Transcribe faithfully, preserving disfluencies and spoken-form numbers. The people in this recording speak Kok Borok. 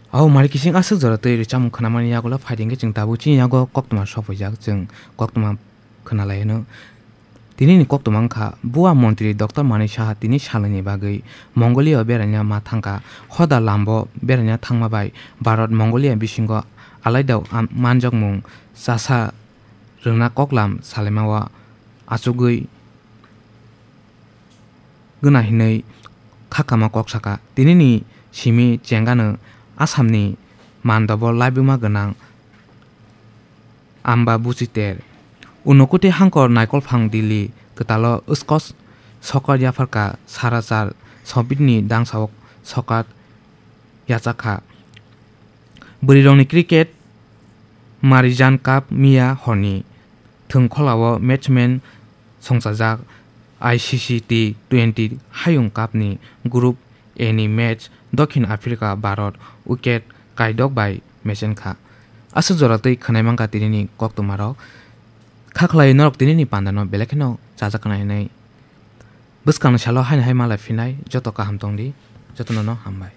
Abo mari kising aswk jora twi rwchapmung khwnamani yagulo phaidi hwnkhe chwng tabuk chini yago koktwma sophaijak, chwng koktwma khwnalai hwno. Tinini koktwma wngkha Bua Montri Doctor Manik Saha tini salnwini bagwi Mongolia o beraina ma thangkha. Hoda lambo beraina thangma bai Bharat Mongolia bisingo alaida am-, manjakmung chasa rwna koklam salaimao achugwi gwnang hinwi kha kama kok sakha. Tinini simi chengano Assamni mandobo laibuma gwnang Amba Buchiter. Unokuti hangkor naikolphang Delhi kwtalo Scotch sokar yapharkha, sara char sobitni dangsaok sokar yachakha. Bwrwirokni cricket Marijan Cup miya horni thwngkholao matchman songchajak. I C C T twenty Hayung Cup ni Group A ni match Dokhin Africa Bharat wicket kaidok bai mechenkha. Aswk jora twi khwnai mankha tinini koktwmarok. Kha khlai norok tinini pandano belai kheno chajak khna hinwi. Bwskangni salo haino hai malai phinai joto kaham tongdi, jotono no hambai.